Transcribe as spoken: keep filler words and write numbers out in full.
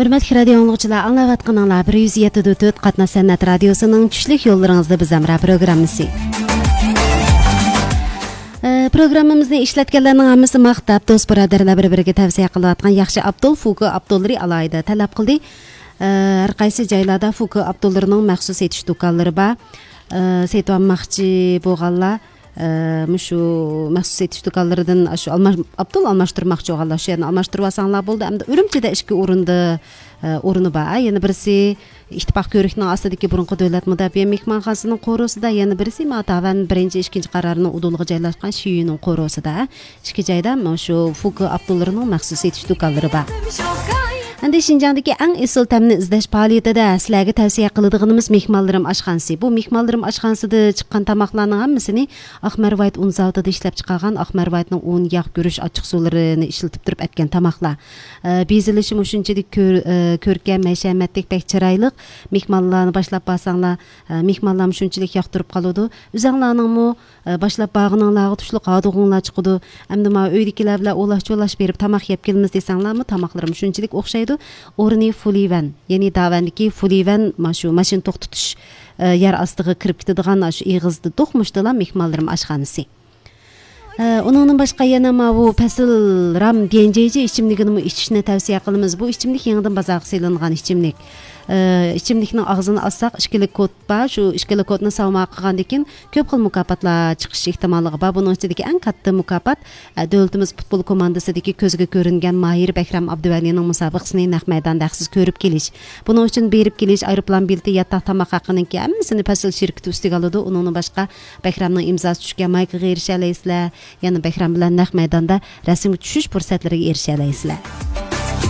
ھۆرمەتلىك رادىيو ئاڭلىغۇچىلار، ئاڭلاۋاتقىنىڭلار بىر يۈز يەتتە نۆل تۆت قاتناش سەنئەت رادىيوسىنىڭ چۈشلۈك يوللىرىڭىزدا بىز ھەمراھ پروگراممىسى. ئە، پروگراممىمىزنى ئىشلەتكەنلەرنىڭ ھەممىسى ماختاپ، دوست بۇرادەرلەر بىر-بىرىگە تەۋسىيە قىلىۋاتقان ياخشى ئابدۇل، فۇكۇ ئابدۇللىرى ئالاھىدە تەلەپ قىلدى. ئە، ھەر قايسى جايلاردا فۇكۇ ئابدۇللىرىنىڭ مەخسۇس سېتىش دۇكانلىرى بار. ئە، سېتىۋالماقچى بولغانلار، ئە، مۇشۇ مەخسۇس سېتىش دۇكانلىرىدىن شۇ ئالماش-، ئابدۇل ئالماشتۇرماقچى بولغانلار شۇ يەرنى ئالماشتۇرۇۋالساڭلار بولدى. ئەمدى ئۈرۈمچىدە ئىككى ئورۇندا، ئە، ئورنى بار. يەنە بىرسى ئىتتىپاق كۆۋرۈكىنىڭ ئاستىدىكى بۇرۇنقى دۆلەت مۇداپىئە مېھمانخانىسىنىڭ قورۇسىدا، يەنە بىرسى ما داۋەن بىرىنچى، ئىككىنچى قارارىنىڭ ئۇدۇلىغا جايلاشقان شىيۈنىڭ قورۇسىدا. ئىككى جايدا مۇشۇ فۇكۇ ئابدۇللىرىنىڭ مەخسۇس سېتىش دۇكانلىرى بار. ئەمدى شىنجاڭدىكى ئەڭ ئېسىل تەمنى ئىزدەش پائالىيىتىدە سىلەرگە تەۋسىيە قىلىدىغىنىمىز مېھمانلىرىم ئاشخانىسى. بۇ مېھمانلىرىم ئاشخانىسىدا چىققان تاماقلارنىڭ ھەممىسىنى ئاق مەرۋايىت ئۇن زاۋۇتىدا ئىشلەپ چىقارغان ئاق مەرۋايىتنىڭ ئۇن، ياغ، گۈرۈچ، ئاچچىق سۇلىرىنى ئىشلىتىپ تۇرۇپ ئەتكەن تاماقلار. ئە، بېزىلىشىمۇ شۇنچىلىك كۆر-، ئە، كۆركەم، ھەشەمەتلىك، بەك چىرايلىق. مېھمانلارنى باشلاپ بارساڭلار، ئە، مېھمانلارمۇ شۇنچىلىك ياقتۇرۇپ قالىدۇ. ئۆزەڭلارنىڭمۇ، ئە، باشلاپ بارغىنىڭلارغا تۇشلۇق ھادىغۇڭلار چىقىدۇ. ئەمدى مانا ئۆيدىكىلەر بىلەن ئولاش-چولاش بېرىپ تاماق يەپ كېلىمىز دېسەڭلارمۇ، تاماقلىرىمۇ شۇنچىلىك ئوخشايدۇ. ئورنى فۇلىۋەن، يەنى داۋەندىكى فۇلىۋەن، مانا شۇ ماشىنا توختىتىش، ئە، يەر ئاستىغا كىرىپ كېتىدىغان شۇ ئېغىزدا دوقمۇشتىلا مېھمانلىرىم ئاشخانىسى. ئە، ئۇنىڭدىن باشقا يەنە ماۋۇ پەسىل رام ديەنجېيجى ئىچىملىكىنىمۇ ئىچىشنى تەۋسىيە قىلىمىز. بۇ ئىچىملىك يېڭىدىن بازارغا سېلىنغان ئىچىملىك. ئە، ئىچىملىكنىڭ ئاغزىنى ئاچساق، ئىككىلا كود بار. شۇ ئىككىلا كودنى ساۋماغا قىلغاندىن كېيىن كۆپ خىل مۇكاپاتلار چىقىش ئېھتىماللىقى بار. بۇنىڭ ئىچىدىكى ئەڭ كاتتا مۇكاپات، ئە، دۆلىتىمىز پۇتبول كوماندىسىدىكى كۆزگە كۆرۈنگەن ماھىر بەكرام ئابدۇۋەلىنىڭ مۇسابىقىسىنى نەق مەيداندا ھەقسىز كۆرۈپ كېلىش. بۇنىڭ ئۈچۈن بېرىپ كېلىش، ئايروپىلان بېلىتى، ياتاق، تاماق ھەققىنىڭكى ھەممىسىنى پەسىل شىركىتى ئۈستىگە ئالىدۇ. ئۇنىڭدىن باشقا، بەكرامنىڭ ئىمزاسى چۈشكەن مايكىغا ئېرىشەلەيسىلەر. يەنە بەكرام بىلەن نەق مەيداندا رەسىمگە چۈشۈش پۇرسەتلىرىگە ئېرىشەلەيسىلەر.